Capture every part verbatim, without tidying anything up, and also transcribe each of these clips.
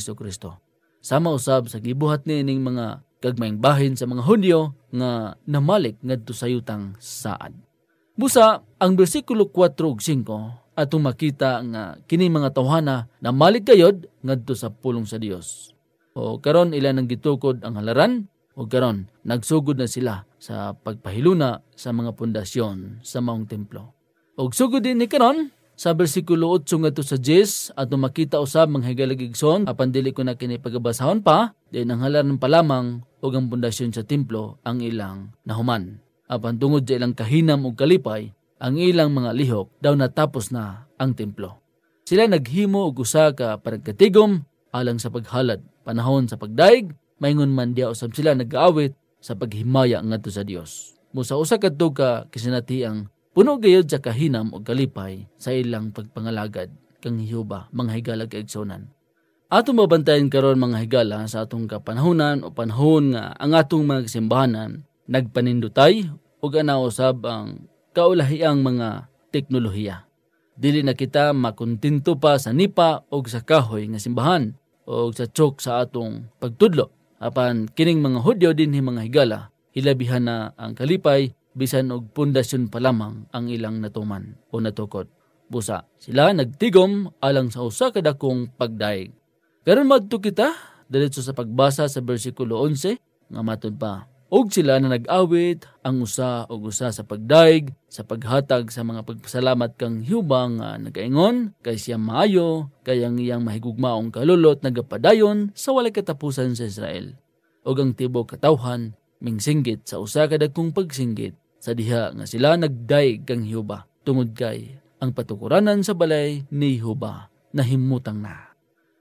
Jesu-Cristo. Sama usab sa gibuhat niining mga gagmayng bahin sa mga Hudiyo nga namalik ngadto sa yutang saad. Busa, ang bersikulo kuwatro ug singko atong makita nga kini mga tawhana namalik gayod ngadto sa pulong sa Dios. O karon, ila nang gitukod ang halaran, ug karon nagsugod na sila sa pagpahiluna sa mga pundasyon sa maong templo. Ug sugod ini karon, sa bersikulo otso ngadto sa diyes, ato makita usab, mga higala ug igsoon, apan dili ko na kini pagabasahon pa, diin ang halaran pa lamang ug ang pundasyon sa templo ang ilang nahuman. Apan tungod sa ilang kahinam ug kalipay, ang ilang mga lihok daw natapos na ang templo. Sila naghimo og usa ka panagkatigom alang sa paghalad, panahon sa pagdayeg, maingon man diha usab sila nag-aawit sa paghimaya ngadto sa Dios. Busa, usa kadto ka kasinatiang puno gayod sa kahinam ug kalipay sa ilang pagpangalagad kang Jehovah, mga higala ug kaigsunan. Ato mabantayan karon, mga higala, sa atong kapanahunan o panahon nga ang atong mga kasimbahanan nagpanindutay ug ana usab ang kaulahiang mga teknolohiya. Dili na kita makontento pa sa nipa o sa kahoy nga simbahan o sa chok sa atong pagtudlo. Apan kining mga Hudiyo dinhi, mga higala, hilabihan na ang kalipay, bisan og pundasyon pa lamang ang ilang natuman o natukod. Busa, sila nagtigom alang sa usa ka dakong pagdayeg. Karon madto kita diretso sa pagbasa sa bersikulo onse, nga matod pa, "Ug sila na nag-awit ang usa ug usa sa pagdayeg, sa paghatag sa mga pagpasalamat kang Jehovah, nga nagaingon, kay siya maayo, kay ang iyang mahigugmaong kalulot nagapadayon sa walay katapusan sa Israel. Ug ang tibuok katawhan mingsinggit sa usa ka dagkong pagsinggit, sa diha nga sila nagdayeg kang Jehovah, tungod kay ang patukuranan sa balay ni Jehovah nahimutang na."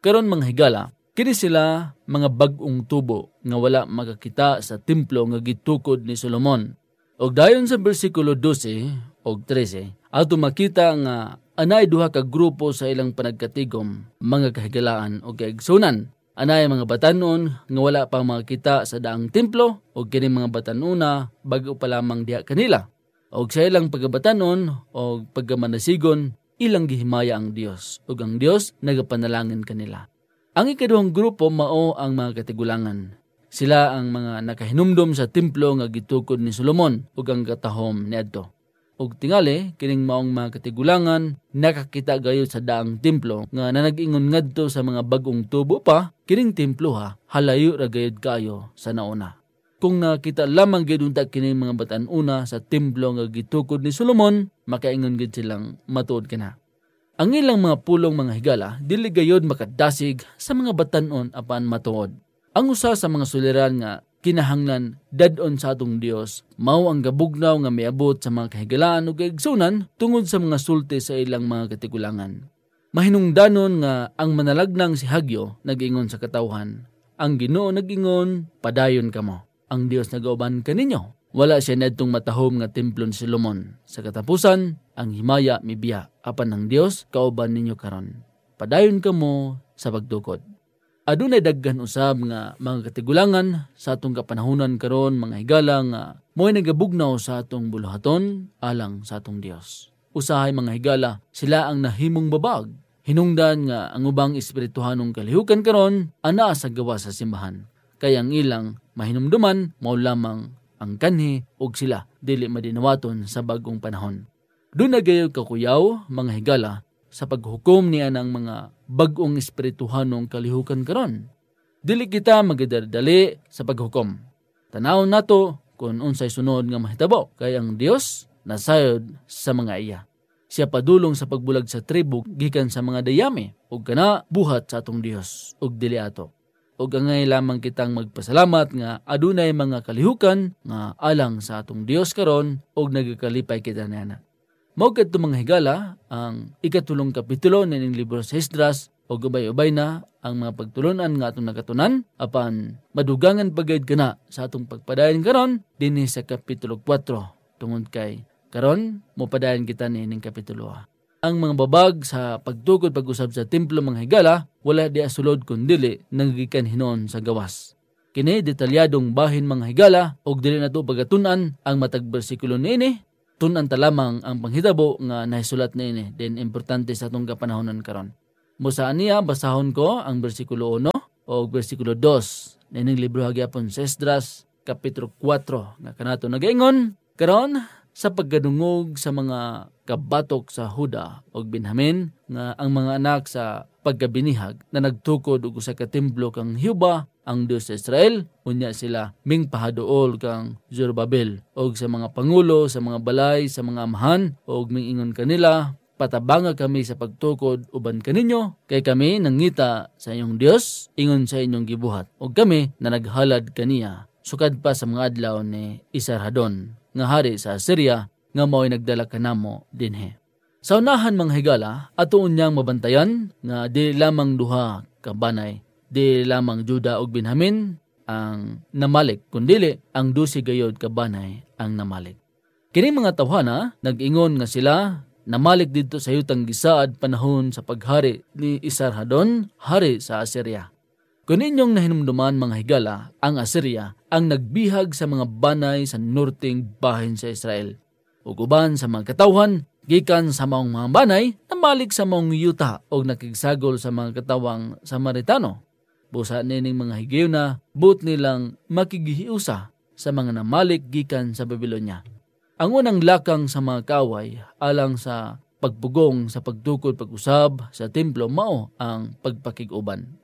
Karon, mga higala, kini sila mga bag-ong tubo nga wala makakita sa templo nga gitukod ni Solomon. Ug dayon sa bersikulo dose ug trese, ato makita nga anay duha ka grupo sa ilang panagkatigom, mga kahigalaan ug kaigsunan. Anay mga batan-on nga wala pa makita sa daang templo, ug kini mga batan-ona bag-o pa lamang diha kanila. Ug sa ilang pagabatan-on ug pagamanasigon, ilang gihimaya ang Dios, ug ang Dios nagapanalangin kanila. Ang ikaduhang grupo mao ang mga katigulangan. Sila ang mga nakahinumdom sa templo nga gitukod ni Solomon ug ang katahom niadto. Ug tingali, kining maong mga katigulangan nakakita gayud sa daang templo nga nanag-ingon ngadto sa mga bag-ong tubo pa, kining templo, ha, halayo ra gayud kaayo sa nauna. Kung nakita lamang gid unta kining mga batan-ona sa templo nga gitukod ni Solomon, makaingon gid silang matuod kana. Ang ilang mga pulong, mga higala, dili gayud makadasig sa mga batan-on apan matuod. Ang usa sa mga suliran nga kinahanglan dad-on sa atong Dios mao ang gabugnaw nga miabot sa mga kahigalaan ug kaigsunan tungod sa mga sulti sa ilang mga katigulangan. Mahinungdanon nga ang manalagnang si Hagyo nag-ingon sa katawhan, "Ang Ginoo nag-ingon, padayon kamo. Ang Dios nagauban kaninyo." Wala siya niadtong matahom nga templo ni Solomon. Sa katapusan, ang himaya mibiya, apan ang Dios kauban ninyo karon. Padayon kamo sa pagtukod. Adunay daghan usab nga mga katigulangan sa atong kapanahunan karon, mga higala, nga mao'y nagabugnaw sa atong buluhaton alang sa atong Dios. Usahay, mga higala, sila ang nahimong babag. Hinungdan nga ang ubang espirituhanong kalihukan karon anaa sa gawas sa simbahan, kay ang ilang mahinumduman mao lamang ang kanhi, ug sila dili madinawaton sa bag-ong panahon. Duna gayud ka kuyaw, mga higala, sa paghukom ni anang mga bag-ong espirituhanong kalihukan karon. Dili kita magadali-dali sa paghukom. Tanawon nato kon unsay sunod nga mahitabo, kay ang Dios nasayod sa mga iya. Siya padulong sa pagbulag sa tribo gikan sa mga dayami, ug kana buhat sa atong Dios, ug dili ato. Ug angay lamang kitang magpasalamat nga adunay mga kalihukan nga alang sa atong Dios karon, ug nagakalipay kita niana. Mao kadto, mga higala, ang ikatulong kapitulo nining libro sa Esdras, ug ubay-ubay na ang mga pagtulon-an nga atong nakatunan, apan madugangan pa gayud kana sa atong pagpadayon karon dinhi sa kapitulo kuwatro, tungod kay karon mopadayon kita nining kapitulo. Ang mga babag sa pagtukod pag-usab sa templo, mga higala, wala diha sulod, kun dili nagagikan hinuon sa gawas. Kini detalyadong bahin, mga higala, ug dili nato pagatun-an ang matag bersikulo niini. Tun-an ta lamang ang panghitabo nga nahisulat niini, din importante sa atong kapanahonan karon. Busa niya, basahon ko ang bersikulo uno o bersikulo dos nining libro ha gihapon sa Esdras, kapitulo kuwatro, nga kanato nagaingon, "Karon, sa pagkadungog sa mga kabatok sa Juda ug Benjamin, nga ang mga anak sa pagkabinihag na nagtukod og usa ka templo kang Jehovah, ang Dios sa Israel, unya sila mingpahaduol kang Zorobabel ug sa mga pangulo sa mga balay sa mga amahan, ug mingingon kanila, 'Patabanga kami sa pagtukod uban kaninyo, kay kami nangita sa inyong Dios ingon sa inyong gibuhat, ug kami nanaghalad kaniya sukad pa sa mga adlaw ni Esarhaddon nga hari sa Asiria, nga mao'y nagdala kanamo dinhi.'" Sa unahan, mga higala, ato unyang mabantayan nga di lamang duha ka banay, di lamang Juda ug Benjamin ang namalik, kundili ang dose gayod ka banay ang namalik. Kining mga tawhana nag-ingon nga sila namalik didto sa yutang gisaad panahon sa paghari ni Esarhaddon, hari sa Asiria. Kon inyong nahinumduman, mga higala, ang Asiria ang nagbihag sa mga banay sa norteng bahin sa Israel, ug uban sa mga katawhan gikan sa maong mga banay namalik sa maong yuta ug nakigsagol sa mga katawhang Samaritano. Busa nining mga higayuna, buot nilang makighiusa sa mga namalik gikan sa Babilonia. Ang unang lakang sa mga kaaway alang sa pagpugong sa pagtukod pag-usab sa templo mao ang pagpakig-uban.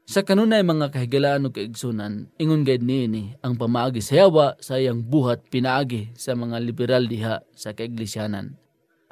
Sa kanunay, mga kahigalaan ug kaigsunan, ingon gid niini ang pamaagi sa yawa sa iyang buhat pinaagi sa mga liberal diha sa kaiglesyaanan.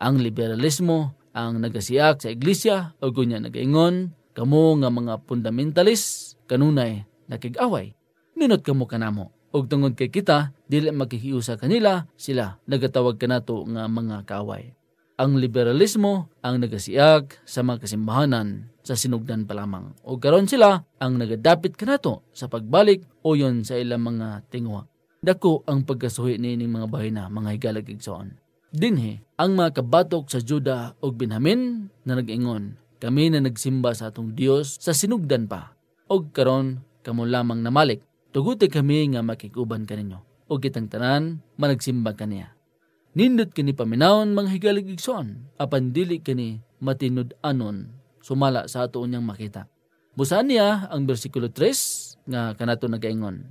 Ang liberalismo ang nagasiak sa iglesia ug unya nagaingon, "Kamo nga mga fundamentalist, kanunay nakig-away." Nindot kamo kanamo, ug tungod kay kita dili makighiusa kanila, sila nagatawag kanato nga mga kaaway. Ang liberalismo ang nagasiak sa mga kasimbahanan sa sinugdan pa lamang, ug karon sila ang nagadapit kanato sa pagbalik uyon sa ilang mga tinguha. Dako ang pagkasuhi nining mga bahina, mga higala ug igsoon. Dinhi, ang mga kabatok sa Juda ug Benjamin na nag-ingon, "Kami na nagsimba sa atong Dios sa sinugdan pa, ug karon kamo lamang namalik. Tuguti kami nga makig-uban kaninyo, ug kitang tanan managsimba kaniya." Nindot kini paminawon, mga higala ug igsoon, apan dili kini matinud-anon sumala sa ato unyang makita. Busa niya ang bersikulo tres nga kanato nagaingon,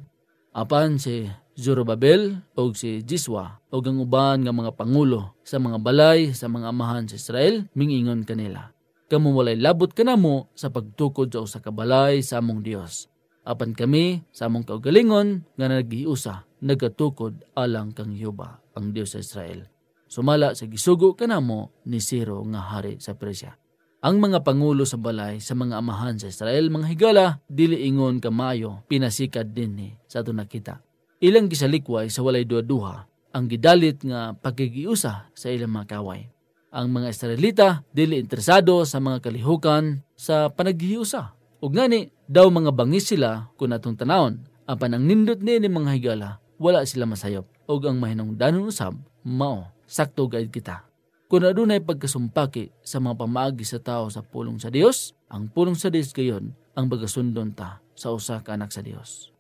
"Apan si Zorobabel ug si Jesua ug ang uban nga mga pangulo sa mga balay sa mga amahan sa Israel mingingon kanila, 'Kamo walay labot kanamo sa pagtukod sa usa ka balay sa among Dios. Apan kami, sa among kaugalingon nga naghiusa, nagatukod alang kang Jehovah, ang Dios sa Israel, sumala sa gisugo kanamo ni Ciro nga hari sa Persia.'" Ang mga pangulo sa balay sa mga amahan sa Israel, mga higala, dili ingon ka maayo pinasikad dinhi sa aton nakita. Ilang gisalikway sa walay duhaduha ang gidalit nga pakighiusa sa ilang mga kaaway. Ang mga Israelita dili interesado sa mga kalihukan sa panaghiusa, ug ngani daw mga bangis sila kon atong tanawon. Apan ang nindot niini, mga higala, wala sila masayop, ug ang mahinungdanon usab mao, sakto gayud kita. Kon adunay pagkasumpaki sa mga pamaagi sa tawo sa pulong sa Dios, ang pulong sa Dios gayon ang pagasundon ta sa usa ka anak sa Dios.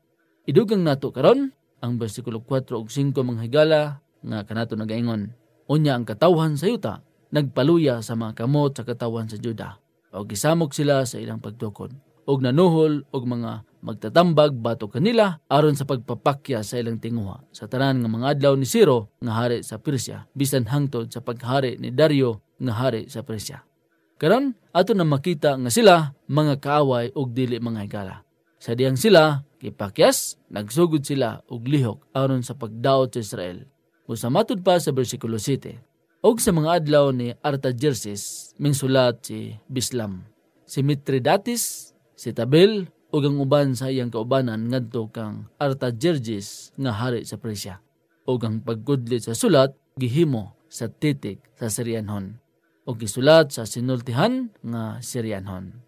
Idugang nato karon ang bersikulo kuwatro ug singko, mga higala, nga kanato nagaingon, "Unya ang katawhan sa yuta nagpaluya sa mga kamot sa katawhan sa Juda, ug gisamok sila sa ilang pagtukod, ug nanuhol og mga magtatambag batok kanila aron sa pagpapakyas sa ilang tinguha sa tanan nga mga adlaw ni Ciro nga hari sa Persia, bisan hangtod sa paghari ni Dario nga hari sa Persia." Karon, ato na makita nga sila mga kaaway ug dili mga higala. Sa dihang sila gipakyas, nagsugod sila og lihok aron sa pagdaot sa Israel. Busa matod pa sa bersikulo siyete, "Ug sa mga adlaw ni Artajerjes, mingsulat si Bislam, si Mitridates, si Tabel, ug ang uban sa iyang kaubanan ngadto kang Artajerjes nga hari sa Persia. Ug ang pagkudlit sa sulat gihimo sa titik sa Sirianhon, ug gisulat sa sinultihan nga Sirianhon.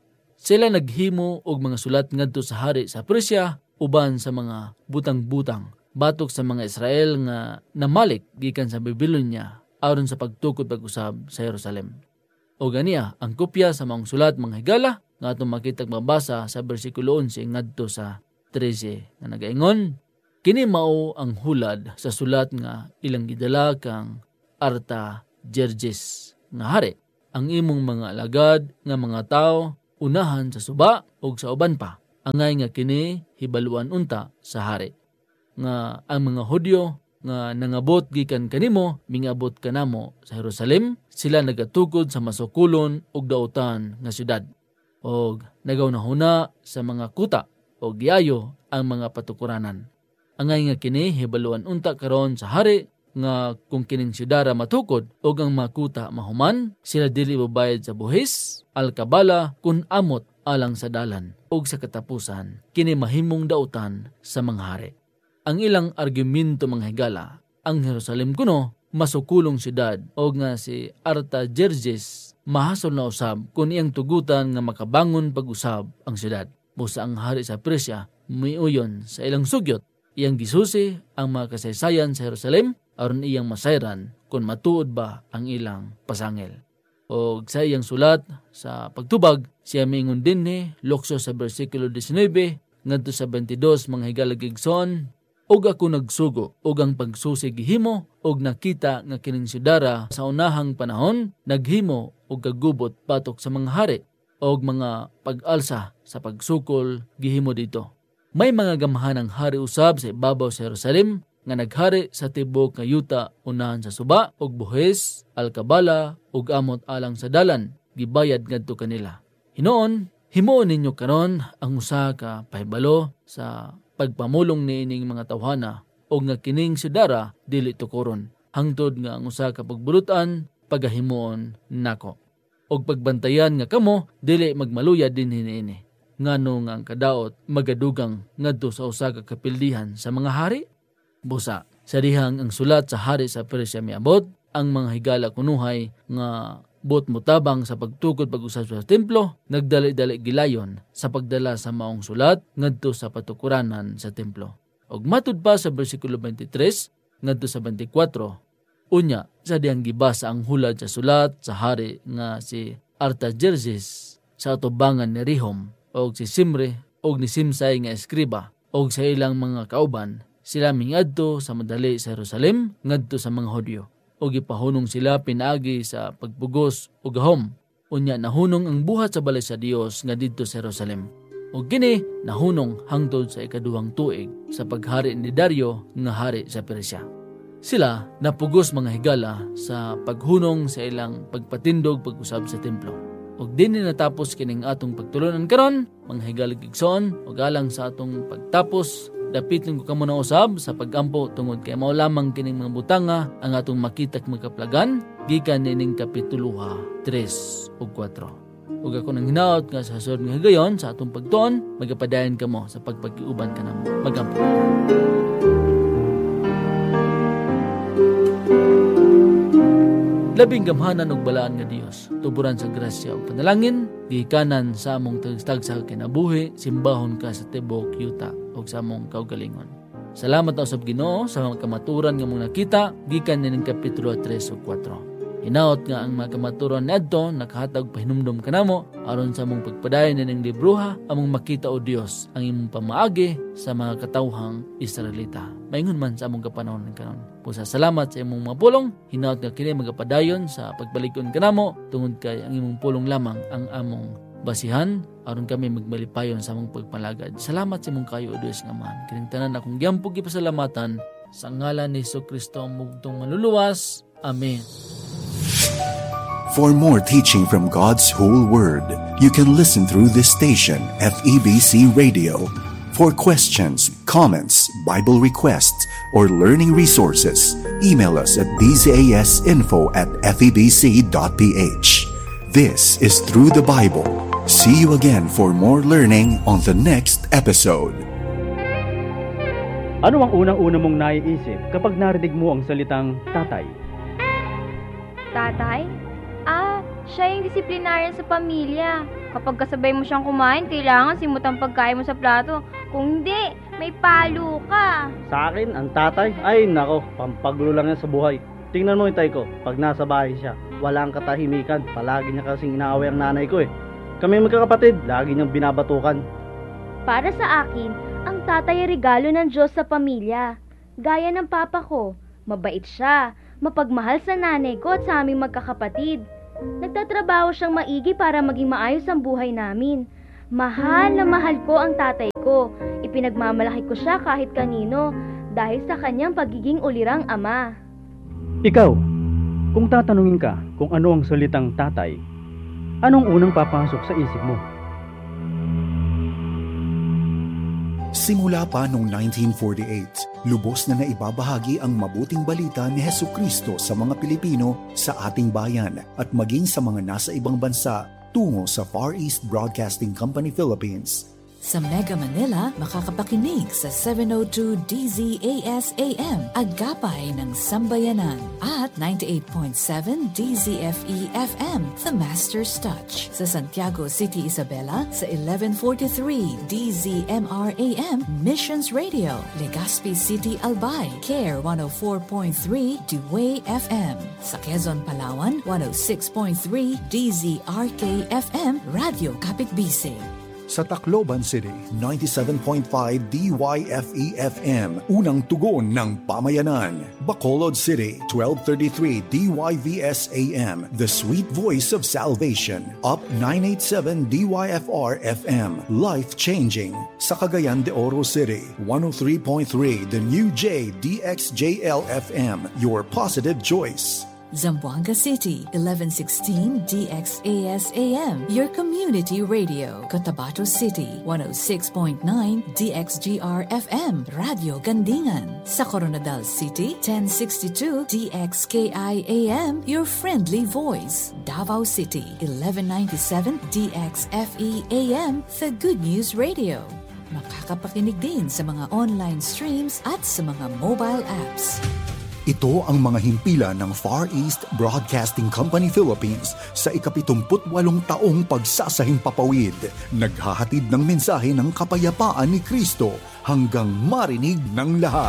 Sila naghimo og mga sulat ngadto sa hari sa Persia, uban sa mga butang-butang batok sa mga Israel nga namalik gikan sa Babilonia aron sa pagtukod pag-usab sa Jerusalem." Ug ania ang kopya sa maong sulat, mga higala, nga atong makitag mabasa sa bersikulo onse ngadto sa trese, nga nagaingon, "Kini mao ang hulad sa sulat nga ilang gidala kang Artajerjes nga hari. Ang imong mga alagad nga mga tawo unahan sa suba, ug sa uban pa. Angay nga kini hibaluan unta sa hari, nga ang mga Hudiyo nga nangabot gikan kanimo mingabot kanamo sa Jerusalem, sila nagatukod sa masukulon ug dautan nga siyudad, ug nagahunahuna sa mga kuta, ug giayo ang mga patukuranan. Angay nga kini hibaluan unta karon sa hari, nga kon kining siyudad matukod ug ang mga kuta mahuman, sila dili mobayad sa buhis, alkabala, kun amot alang sa dalan, ug sa katapusan, kini mahimong dautan sa mga hari. Ang ilang argumento, mga higala, ang Jerusalem kuno masukulong siyudad, o nga si Artajerjes mahasol na usab kon iyang tugutan nga makabangon pag-usab ang siyudad. Busa ang hari sa Persia miuyon sa ilang sugyot, iyang gisusi ang mga kasaysayan sa Jerusalem aron iyang masayran kon matuod ba ang ilang pasangil. Ug sa iyang sulat sa Pagtubag, siya miingon dinhi, lukso sa bersikulo diecinuebe ngadto sa twenty-dos, mga higala, igsoon, "Ug ako nagsugo, ug ang pagsusi gihimo, ug nakita nga kining siyudad sa unahang panahon naghimo og kagubot batok sa mga hari, ug mga pag-alsa sa pagsukol gihimo didto." May mga gamhanang hari usab sa ibabaw sa Jerusalem nga naghari sa tibuok nga yuta, unahan sa suba, ug buhis, alkabala, ug amot alang sa dalan, gibayad ngadto kanila. Hinuon, himuon ninyo karon ang usa ka pahibalo sa pagpamulong niining mga tawhana, ug nga kining siyudad dili tukuron, hangtod nga ang usa ka pagbulut-an pagahimuon nako, ug pagbantayan nga kamo dili magmaluyad dinhi niini, ngano nga ang kadaot magadugang ngadto sa usa ka kapildihan sa mga hari? Busa, sa dihang ang sulat sa hari sa Persia miabot, ang mga higala kunuhay nga buot motabang sa pagtukod pag-usab sa templo nagdali-dali gilayon sa pagdala sa maong sulat ngadto sa patukuranan sa templo. Ug matud pa sa bersikulo twenty-three ngadto sa twenty-four, unya, sa dihang gibasa ang hulad sa sulat sa hari nga si Artajerjes sa atubangan ni Rehum, og si Simri, og ni Simsai nga eskriba, og sa ilang mga kauban, sila mingadto sa madali sa Jerusalem ngadto sa mga Hudiyo, ug gipahunong sila pinaagi sa pagpugos ug gahom. Unya, nahunong ang buhat sa balay sa Dios nga didto sa Jerusalem, ug kini nahunong hangtod sa ikaduhang tuig sa paghari ni Dario nga hari sa Persia. Sila napugos, mga higala, sa paghunong sa ilang pagpatindog pag-usab sa templo. Ug dinhi natapos kining atong pagtulon-an karon, mga higala, igsoon, ug alang sa atong pagtapos, dapiton ko kamo na usab sa pag-ampo, tungod kay mao lamang kining mga butanga ang atong makita kag makaplagan gikan nining kapituloha tres ug kuwatro. Ug ako nang hinaot nga sa sunod nga higayon sa atong pagtuon, magapadayon kamo sa pagpakiuban kanamo. Mag-ampo. Labing gamhanan ug balaan nga Dios, tuburan sa grasya ug panalangin, gikanan sa among tagsa-tagsa ka kinabuhi, simbahon ka sa tibuok yuta ug sa among kaugalingon. Salamat na usab, Ginoo, sa mga kamaturan nga among nakita gikan nining kapitulo tres ug kuwatro. Hinaot nga ang mga kamaturan niadto nakahatag pahinumdom kanamo aron sa among pagpadayon nining libroha, among makita, O Dios, ang imong pamaagi sa mga katawhang Israelita, maingon man sa among kapanahon karon. Busa, salamat sa imong mga pulong. Hinaot nga kini magapadayon sa pagpalig-on kanamo, tungod kay ang imong pulong lamang ang among basihan, aron kami magmalipayon sa among pagpalagad. Salamat sa imong kayo, O Dios nga Amahan. Kining tanan akong giampo gipasalamatan sa ngalan ni Jesu-Cristo, ang bugtong Manluluwas. Amen. For more teaching from God's whole word, you can listen through this station, F E B C Radio. For questions, comments, Bible requests, or learning resources, email us at D Z A S info at F E B C dot P H. This is Through the Bible. See you again for more learning on the next episode. Ano ang unang-una mong naiisip kapag narinig mo ang salitang tatay? Tatay? Ah, siya yung disiplinaryo sa pamilya. Kapag kasabay mo siyang kumain, kailangan simot ang pagkain mo sa plato. Kung hindi, may palo ka. Sa akin, ang tatay, ay nako, pampagulo lang yan sa buhay. Tingnan mo, itay ko, pag nasa bahay siya, wala ang katahimikan. Palagi niya kasing inaaway ang nanay ko eh. Kami magkakapatid, lagi niyang binabatukan. Para sa akin, ang tatay ay regalo ng Diyos sa pamilya. Gaya ng papa ko, mabait siya, mapagmahal sa nanay ko at sa aming magkakapatid. Nagtatrabaho siyang maigi para maging maayos ang buhay namin. Mahal na mahal ko ang tatay ko. Ipinagmamalaki ko siya kahit kanino dahil sa kanyang pagiging ulirang ama. Ikaw, kung tatanungin ka kung ano ang salitang tatay, anong unang papasok sa isip mo? Simula pa noong nineteen forty-eight, lubos na naibabahagi ang mabuting balita ni Jesucristo sa mga Pilipino sa ating bayan at maging sa mga nasa ibang bansa tungo sa Far East Broadcasting Company Philippines. Sa Mega Manila, makakapakinig sa seven oh two D Z A S A M, Agapay ng Sambayanan, at ninety-eight point seven D Z F E F M, The Master's Touch. Sa Santiago City, Isabela, sa eleven forty-three D Z M R A M, Missions Radio. Legazpi City, Albay, Care one oh four point three, The Way F M. Sa Quezon, Palawan, one oh six point three D Z R K F M, Radyo Kapitbisig. Sa Tacloban City, ninety-seven point five D Y F E F M, unang tugon ng pamayanan. Bacolod City, twelve thirty-three D Y V S A M, the sweet voice of salvation. Up nine eight seven D Y F R F M, life-changing. Sa Cagayan de Oro City, one oh three point three The New J D X J L F M, your positive choice. Zamboanga City, eleven sixteen D X A S A M, your community radio. Cotabato City, one oh six point nine D X G R F M, Radyo Gandingan. Sa Koronadal City, ten sixty-two D X K I A M, your friendly voice. Davao City, eleven ninety-seven D X F E A M, the Good News Radio. Makakapakinig din sa mga online streams at sa mga mobile apps. Ito ang mga himpilan ng Far East Broadcasting Company Philippines sa ika-pitungput-walong taong pagsasahimpapawid. Naghahatid ng mensahe ng kapayapaan ni Kristo hanggang marinig ng lahat.